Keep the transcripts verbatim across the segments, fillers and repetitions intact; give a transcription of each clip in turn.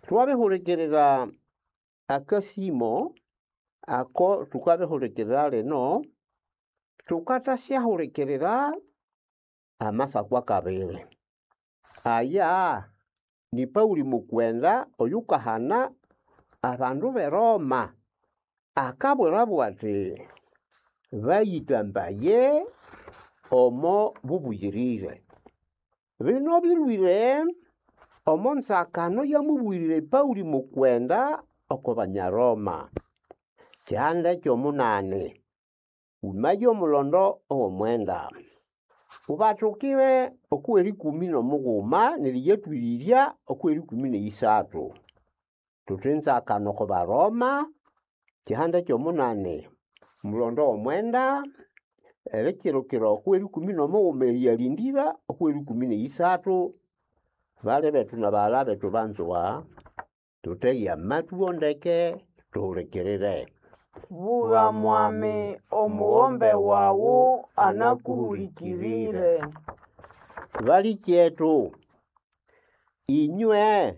Twabihurikirira akasimo ako thukabihurikirira lino, thukathasyahulikirira amasako akabiri. Aya ni Pauli mukwenda oyukahana abandu b'eRoma, akabwirabo ati bayitambaye omo bubuyirire. Bino bilhwire omo nzakano yamubwirire Pauli mukwenda oko Banyaroma. Kyihanda ky'omunani, wumaye omulondo ow'omwenda. Ubathukire okw'erikumi n'omughuma neriyatwirirya okw'erikumi n'eyisathu. Thuthi nzakano oko Baroma, kyihanda ky'omunani, omulondo w'omwenda, erikirukira okw'erikumi n'omughuma eriyalindira okw'erikumi n'eyisathu. Bali bethu na baghalha bethu banzwa, thuthege amatwi wo ndeke thuhulikirire. Bugha mwami, omugombe wawu anakuhulikirire. Balikyethu, inywe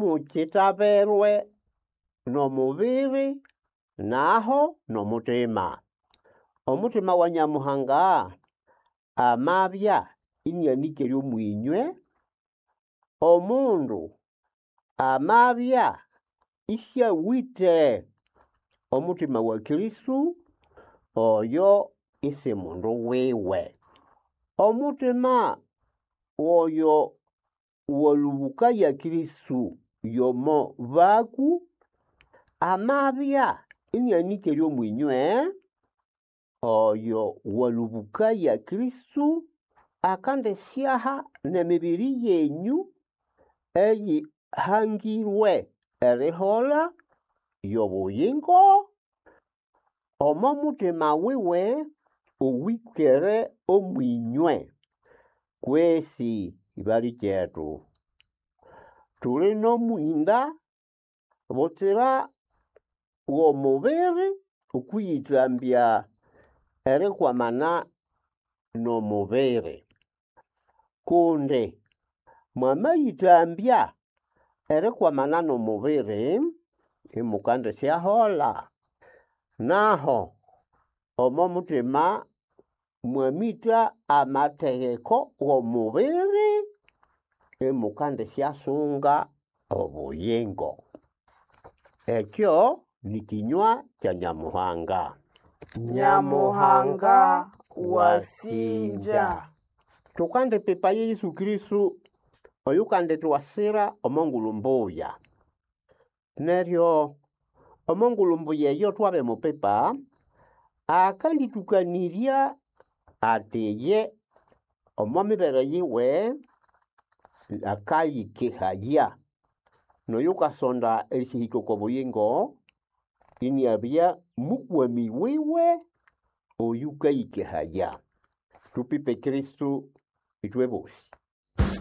simukitaberwe n'omubiri naho n'omutima. Omutima wa Nyamuhanga amabya inianikere omwinywe, omundu amabya isiawite omutima wa Kristo, oyo isi mundu wiwe. Omutima oyo walubukaya Kristo yomo baku, amabya inianikere omwinywe, oyo walubukaya Kristo akandisyaha n'emibiri yenyu eyihangirwe erihola y'obuyingo omo mutima wiwe owikere omwinywe. Kwesi balikyethu, tuli n'omwinda butsira w'omubiri okwiyithambya erikwamana n'omubiri. Kundi mwamayithambya erikwamana n'omubiri, imukandisyahola. Naho omo mutima mwamitha amategeko w'omubiri, imukandisyasunga obuyingo. Ekyo ni kinywa kya Nyamuhanga. Nyamuhanga wasinja. Thukandipipa Yesu Kristo oyukandithwasira omo ngulhu mbuya. Neryo omo ngulhu mbuya eyo twabimupipa, akandithukanirya ati iye omo mibere yiwe akayikehaya n'oyukasonda erisyahika oko buyingo iniabya mukwami wiwe oyukayikehaya. Tupipe Kristo ithwe bosi.